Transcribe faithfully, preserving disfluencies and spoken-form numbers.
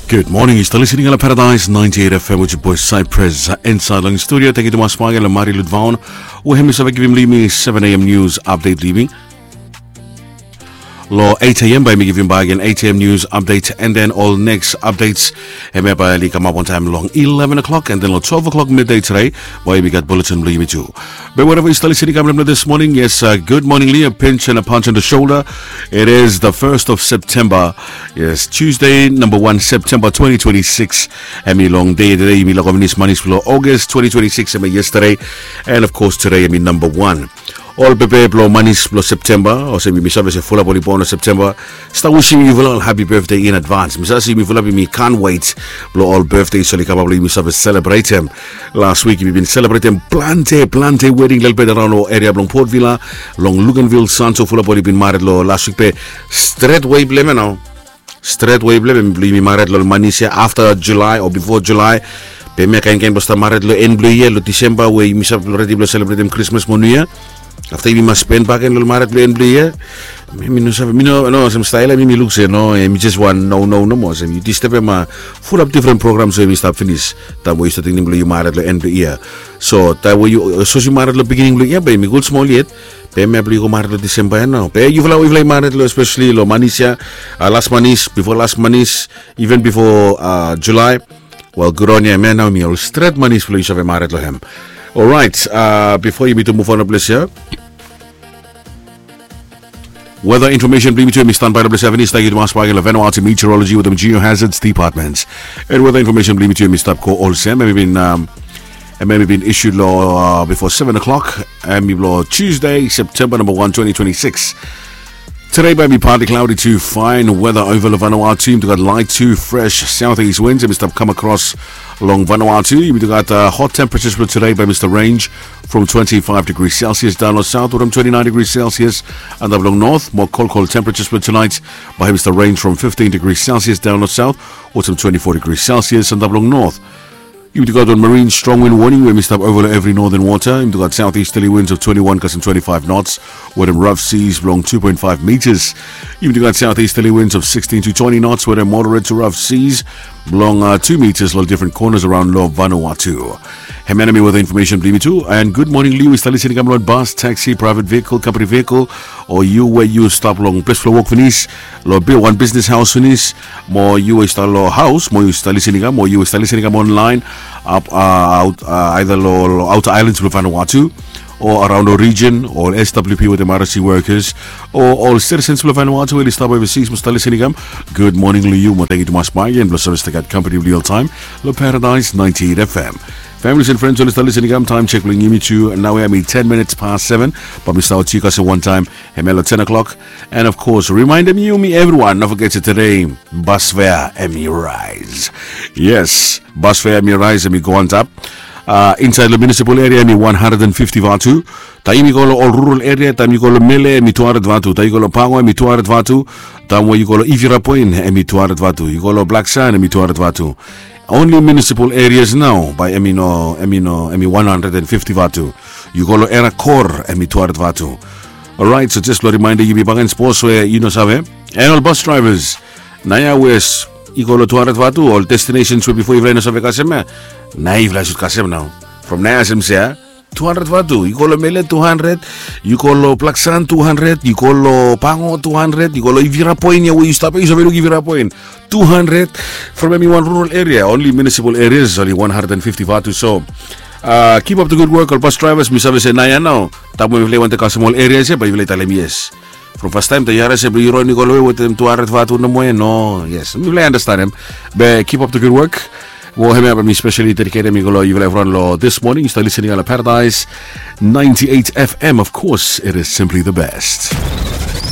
Good morning, yu stap listening long Paradise ninety-eight F M with your boy Cypress, uh, inside long studio. Thank you to Mas Pagan and Mari Ludvaon. We hem is giving me seven A M news update leaving. Long eight A M bae yumi givim bak gen eight A M news update, and then ol next updates hemia bae oli kamap wantaem long eleven o'clock, and then long twelve o'clock midday today bae yumi gat bulletin blong yumi tu. Be wherever yu stap listening kam long this morning, yes, uh, good morning, Lia. Pinch and a punch on the shoulder. It is the first of September. Yes, Tuesday, number one September twenty twenty-six. Hemi long dei today, yumi laek finis manis blong August twenty twenty-six, hemi yesterday. And of course, today, hemi number one. Ol pepe blong manis blong September, olsem yumi save se fulap oli bon long September, stap wisim yufala ol happy birthday in advance. Mi save se yumi fulap yumi can't wait blong ol birthday oli kamap blong yumi save selebretem. Last week yumi bin selebretem plante plante wedding lelebet araon long eria blong Port Vila, long Luganville, Santo, fulap oli bin mared long last week be stret wei blong hem ya nao. Stret wei blong hem blong yumi mared long manis ya afta July o bifo July. Be hemia kaen kaen blong stap mared long en blong yia, long Disemba we yumi stap redi blong selebretem Krismas mo Niu Yia. Afta yumi mas spen bak gen long mared blong en blong yia. Mi no save, mi no, no olsem stael ya mi mi luk se no, hemi jes wan no no nomo olsem yu disturbem fulap difren programs we yumi stap finis taem we yu stap tingting blong yu mared long en blong yia. So taem we yu, sapos yu mared long beginning blong yia be hemi gud smol yet. Be hemia blong yu go mared long Disemba ya nao. Be yufala we yufala i mared long especially long manis ya, uh, las manis, bifo las manis, even bifo, uh, July. Wel, gud on yu, hemia nao hemi ol stret manis blong yu save mared long hem. Orait, uh, bifo yumi tu muv on long ples ya, weather information blong yumi tu hemi stanbae long ples ya finis. Tangkiu tumas bak gen long Vanuatu Meteorology wetem Geohazards Department. And weather information blong yumi tu hemi stap go olsem, hemi bin, um, hemi bin issued long, uh, bifo seven o'clock, hemi blong Tuesday, September number one, twenty twenty-six. Today bae hemi partly cloudy to fine weather ova long Vanuatu. Yumi tu gat light to fresh southeast winds hemi stap kam across long Vanuatu. Yumi tu gat, uh, hot temperatures blong today bae hemi stap range from twenty-five degrees Celsius daon long south wetem twenty-nine degrees Celsius antap long north. Mo kolkol temperatures blong tonight bae hemi stap range from fifteen degrees Celsius daon long south wetem twenty-four degrees Celsius antap long north. Yumi tu gat wan marine strong wind warning we hemi stap ova long evri northern water. Yumi tu gat southeasterly winds of twenty-one kasem twenty-five knots wetem rough seas blong two point five meters. Yumi tu gat southeasterly winds of sixteen to twenty knots wetem moderate to rough seas blong, uh, two meters long difren corners araon long Vanuatu. Hemia nao hemi weather information blong yumi tu. And good morning long yu we stap listening kam long bus, taxi, private vehicle, company vehicle, o yu we yu stap long ples blong wok finis, long wan business haos finis, mo yu we yu stap long haos, mo yu stap listening kam, mo yu we stap listening kam online, ap, uh, aot, uh, either long outer islands blong Vanuatu, o araon long region, o S W P wetem R S C workers, o ol citizens blong Vanuatu we oli stap overseas mo stap listening kam. Good morning long yu mo tangkiu tumas bak gen blong save stap gat company blong yu oltaem long Paradise ninety-eight F M. Families and friends oli stap listening kam, taem check blong yumi tu naoia hemi ten minutes past seven. Bae mi stap oti kasem wantaem hemia long ten o'clock. And of course, remindem yumi evriwan, no foget se today bus fare hemi rise. Yes, bus fare hemi rise, hemi go antap. Uh, insaed long municipal area hemi one hundred and fifty vatu. Taem yu go long ol rural area, taem yu go long Mele hemi two hundred vatu. Taem yu go long Pango hemi two hundred vatu. Taem we yu go long Ivirapoin hemi two hundred vatu. Yu go long Blaksand hemi two hundred vatu. Only municipal areas nao bae hemi no, hemi no, hemi one hundred and fifty vatu. Yu go long Era Kor hemi two hundred vatu. Orait, so jes blong rimaenda yumi bakegen sapos we yu no save. And ol bus drivers, naoia we yu go long two hundred vatu, ol destinations we bifo yufala i no save kasem ya, naoia yufala i sud kasem nao. From naoia olsem se ya, two hundred vatu. Yu go long Mele two hundred, yu go long Blaksand two hundred, yu go long Pango two hundred, yu go long Ivirapoin ya we yu stap ya, yu save luk Ivirapoin, two hundred. From hemi wan rural area, only municipal areas oli one hundred and fifty vatu. So, uh, keep up the good work ol bus drivers. Mi save se naoia nao, taem we mifala i wantem kasem ol areas ya bae yufala i talem yes. From fastaem taem yu harim se blong yu ron i go long we wetem two hundred vatu nomo ya, no, yes, mifala i andastanem. Be keep up the good work. Mo hemia bae mi specially dediketem i go long yufala evriwan long this morning yu stap listening long Paradise ninety-eight F M. Of course, it is simply the best.